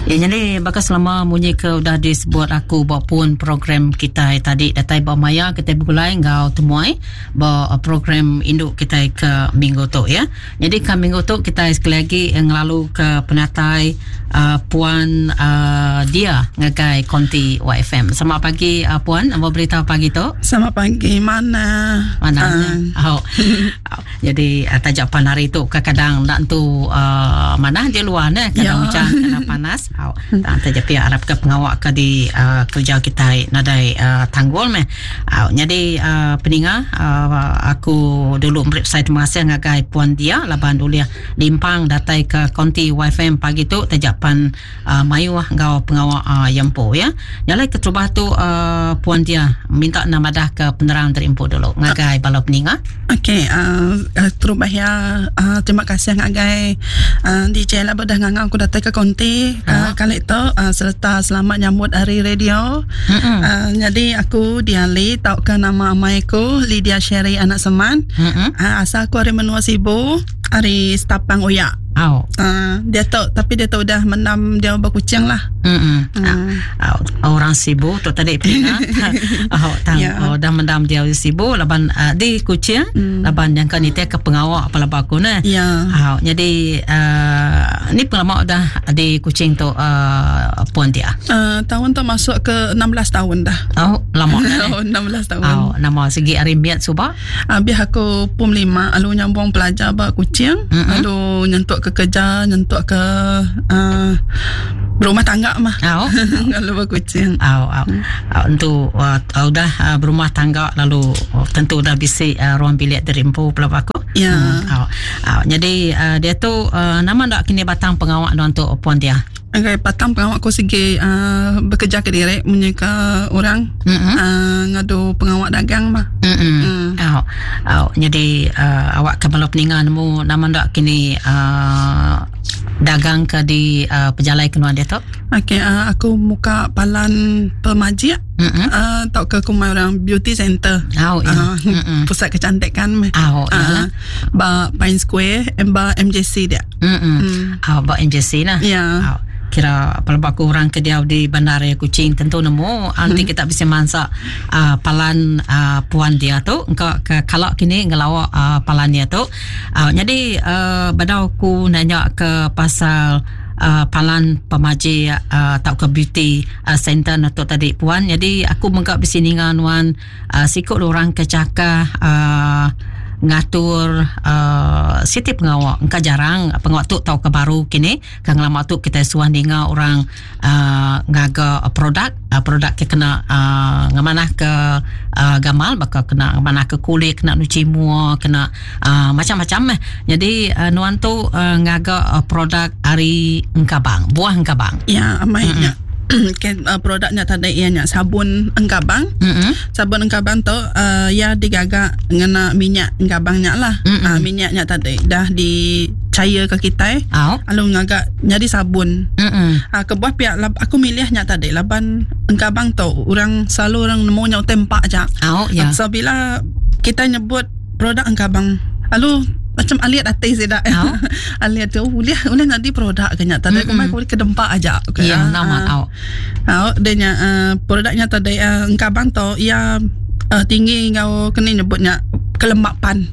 Ya, jadi baka selama munyi ke udah disebut aku ba pun program kita tadi datai ba maya kita begulai enggau temuai ba program indu kita ke minggu tu ya. Jadi ke minggu tu kita sekali lagi ngelalu ke penatai uh, puan uh, dia ngagai konti YFM. Selamat pagi uh, puan, apa berita pagi tu? Selamat pagi, mana? Mana? Uh. Oh. Jadi uh, taja pan hari tu kadang ndak entu uh, mana dia luar ne kadang ya. hujan kadang panas. Au. Tang taja pia arap ke pengawa ke di uh, kerja kita nadai uh, tanggul meh. Au. Jadi uh, peninga uh, aku dulu meri besai terima kasih ngagai puan dia laban ulih limpang datai ke konti YFM pagi tu taja pan uh, mayuh enggau pengawa uh, iya empu ya. Nyalai keterubah tu uh, puan dia minta nama dah ke penerang dari empu dulu ngagai bala peninga. Okey, uh, terubah ya uh, terima kasih ngagai uh, DJ lah bedah ngangau aku datai ke konti uh, kali tu uh, serta selamat nyambut hari radio. Uh, jadi aku Diali tauka nama amai aku Lydia Sherry anak Seman. Uh, asal aku ari menua Sibu, ari Stapang Oya. Au. Uh, dia tu tapi dia tu udah mendam dia berkucing lah. Mm. Uh. Orang Sibu tu tadi pina. Oh, tang yeah. oh, dah mendam dia di Sibu laban uh, di Kuching mm. laban yang kan itu ke pengawak apa laba aku ne. Ya. Yeah. Oh, jadi uh, ni pengelama dah di Kuching tu uh, puan dia. Uh, tahun tu masuk ke 16 tahun dah. Oh, lama dah. Oh, 16 tahun. Oh, nama segi ari miat suba. Habis aku pum 5 lalu nyambung pelajar ba Kuching, lalu nyentuk ke kerja, nyentuk ke berumah tangga mah. Oh. Lalu ba Kuching. Oh, oh. Oh, tentu uh, udah uh, berumah tangga lalu oh, tentu udah bisi uh, ruang bilik diri empu pula aku. Ya. Oh. Oh, jadi uh, dia tu uh, nama ndak kini batang pengawak untuk puan dia. Okay, batang pengawak aku segi bekerja ke diri menyeka orang ngadu pengawak dagang mah. Oh, oh, jadi awak ke bala peninga nemu nama ndak kini dagang ke di pejalai kenuan dia tu? Okey, aku muka palan pemajik atau ke kumai orang beauty center. Oh, ya. Pusat kecantikan meh. Oh, uh, ba Pine Square, ba MJC dia. Oh, ba MJC lah. Ya. Oh. Kira pelebak orang ke dia di bandaraya Kuching tentu nemu nanti kita bisa mansak palan puan dia tu engkau ke kalau kini ngelawak palan dia tu jadi badau aku nanya ke pasal palan pemaji atau ke beauty center tu tadi puan jadi aku menggak bisi ninga nuan sikut orang ke cakah ngatur siti pengawak engka jarang pengawak tu tau ke baru kini kang lama tu kita suah ninga orang ngaga produk produk ke kena ngamanah ke gamal baka kena ngamanah ke kulit kena nuci mua kena macam-macam eh. Jadi nuan tu ngaga produk ari engkabang buah engkabang. Ya amainya. Ke, produknya tadi ianya sabun engkabang. Sabun engkabang tu ya digagak ngena minyak engkabangnya lah. Minyaknya tadi dah dicair ke kita. Oh. Lalu ngagak jadi sabun. Kebuah pihak aku milihnya tadi laban engkabang tu orang selalu orang nemunya tempak aja. Oh, ya. So bila kita nyebut produk engkabang lalu macam aliat hati saya dah. Oh. Aliat tu boleh boleh nanti produk kena tadi aku mai boleh kedempak aja. Okay. Ya, nama tau. Oh, dia nya produknya tadi engkabang tu ia tinggi ngau kena nyebutnya kelembapan.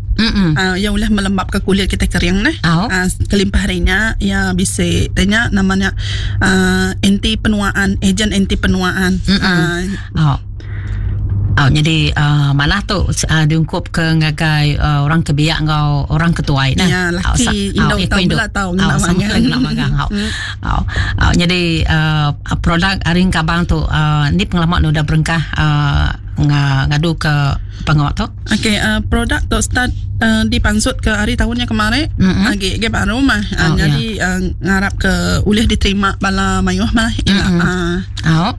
Yang boleh melembab ke kulit kita kering neh. Oh. Kelimpah harinya ia bisa tanya namanya anti penuaan, ejen anti penuaan. Oh. Oh, jadi mana tu diungkup ke ngagai orang kebiak ngau orang ketuai nah. Ya, laki oh, indo tahu bela tahu ngena magang. Ngena magang. Oh. Oh. Oh, jadi produk aring kabang tu ni pengalaman nu dah berengkah ngadu ke pengawak tu. Okey, produk tu start dipansut ke hari tahunnya kemarin. Agi ge baru mah. Oh, jadi ngarap ke ulih diterima bala mayuh mah. Oh.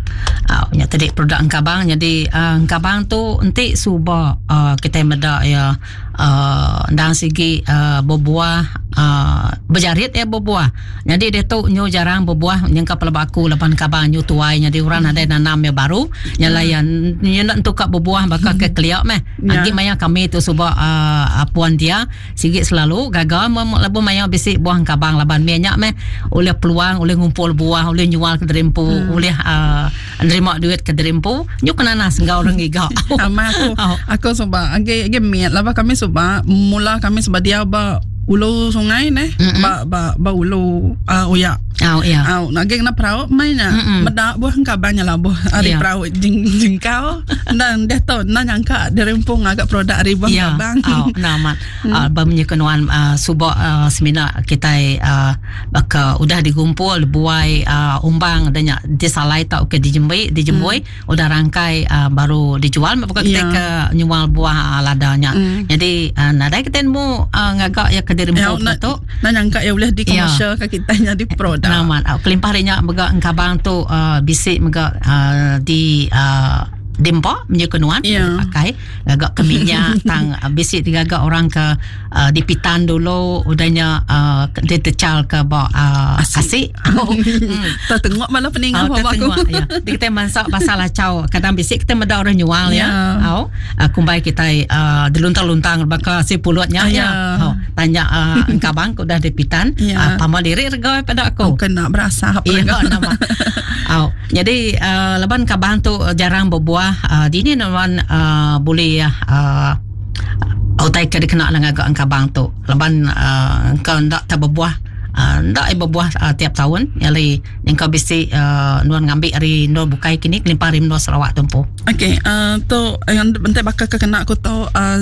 Oh, nya tadi produk engkabang jadi engkabang tu enti suba kita meda ya. uh, endang sigi uh, bebuah uh, bejarit ya bebuah. Nyadi diatu nyu jarang bebuah nyengka pelaba aku laban kaban nyu tuai nyadi orang nadai nanam ya baru. Nya alai ya nyu enda entu ka bebuah baka ke kelia meh. Agi maya kami tu suba uh, puan dia sigi selalu gaga meh lebuh maya bisi buah engkabang laban meh nya meh ulih peluang ulih ngumpul buah ulih nyual ke diri empu ulih uh, nerima duit ke diri empu nyu ke nanas enggau orang ngiga. Ama aku aku suba agi agi mit laban kami suba mula kami suba diau ba ulu sungai neh ba ba ba ulu uh, uya. Oh ya. Au agi kena perau mai nya meda buah engkabang nya labuh ari perau jeng jengkau endang deh tu enda nyangka diri empu ngaga produk ari buah engkabang. Au enda amat. Ba menyuka nuan suba semina kitai baka udah digumpul dibuai umbang da nya disalai tauka dijembi dijembui udah rangkai baru dijual meh baka kitai ke nyual buah lada nya. Nyadi nadai kitai nemu ngaga iya ke diri empu tu. Enda nyangka iya ulih dikomersial ka kitai nyadi produk. Amat. Kelimpah ari nya mega engkabang tu bisi mega di diempa menyuka nuan yeah. pakai ngaga ke minyak tang bisi digaga orang ke uh, dipitan dulu udahnya uh, ditecal ke ba uh, asi. hmm. Tertengok malah peninga oh, aku. Ya. Di kita masak pasal acau kadang bisi kita meda orang nyual ya. Yeah. Au uh, kumbai kita uh, diluntang-luntang baka si pulutnya uh, ya. Oh, tanya uh, engkabang ke udah dipitan yeah. uh, pama diri rega pada aku. Oh, kena berasa apa yeah, nama. Au. Jadi uh, laban kabang tu jarang berbuah uh, dini nuan uh, boleh uh, utai ke dikena ngaga engkabang tu laban uh, engkau ndak tak berbuah uh, ndak ai berbuah uh, tiap tahun nyali engkau bisi uh, nuan ngambi ari endur bukai kini kelimpah ari menua Sarawak tu empu. Okey, uh, tu yang bentai bakal ke kena aku tu uh,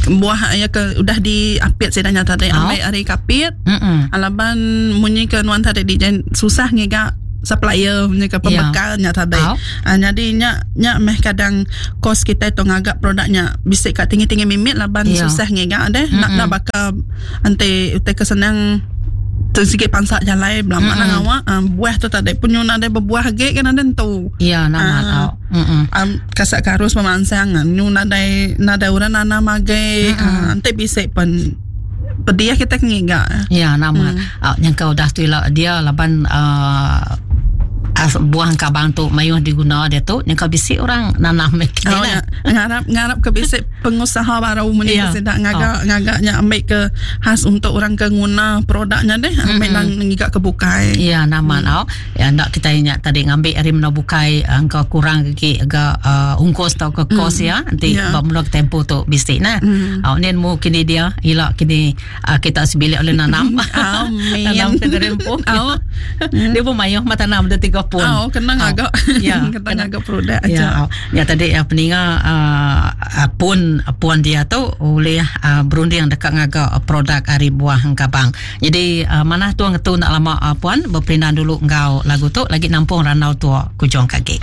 buah ya ke udah diapit sida nya tadi oh. ambil ari kapit. Mm-mm. Laban munyi ke nuan tadi di susah ngiga supplier punya ke pembekal nya tadi. Oh. Uh, jadi nya nya meh kadang kos kita tu ngaga produk nya bisi ka tinggi-tinggi mimit laban yeah. susah ngiga deh. Mm-hmm. Nak nak baka enti utai ke senang tu sikit pansak jalai belama mm-hmm. nang awak uh, buah tu tadi punyu nadai berbuah agi kan ada entu. Ya nama uh, tau. Mm-hmm. Um, kasak karus pemansang nyu nadai nadai orang nanam agi mm-hmm. uh, enti bisi pen pedih kita ke ngiga. Ya nama. Hmm. Uh, nyangka udah tu ila dia laban uh, buah engkabang tu mayuh diguna dia tu nyangka bisi orang nanam oh, ya. ngarap ngarap ke bisi pengusaha baru meni ya. sida ngaga oh. ngaga nya ambil ke khas untuk orang ke nguna produknya deh ambil mm-hmm. nang ngiga ke bukai. Ya nama hmm. Ya enda kitai nya tadi ngambi ari menua bukai engka kurang agi ga uh, ungkus tauka kos mm. ya enti yeah. ba menua kitai empu tu bisi nah. Mm. Au ni nemu kini dia ila kini uh, kita sebilik oleh nanam. Amin. Tanam ke diri empu. Au. Dia pun mayuh mah tanam dia tiga pun. Au kena ngaga. Ya, kena ngaga produk aja. Ya, ya tadi ya, peninga uh, pun puan dia tu oleh uh, berunding dekat ngaga produk ari buah engkabang. Nyadi manah tua ngetu enda lama puan beperindang dulu enggau lagu tu lagi nampung randau tua kujung ka agi.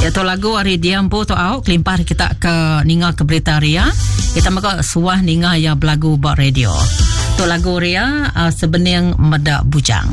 Ya tu lagu ari dia empu tu au kelimpah ari kita ke ninga ke berita ari iya kita mega suah ninga iya belagu ba radio. Tu lagu ari iya uh, Sebening Meda Bujang.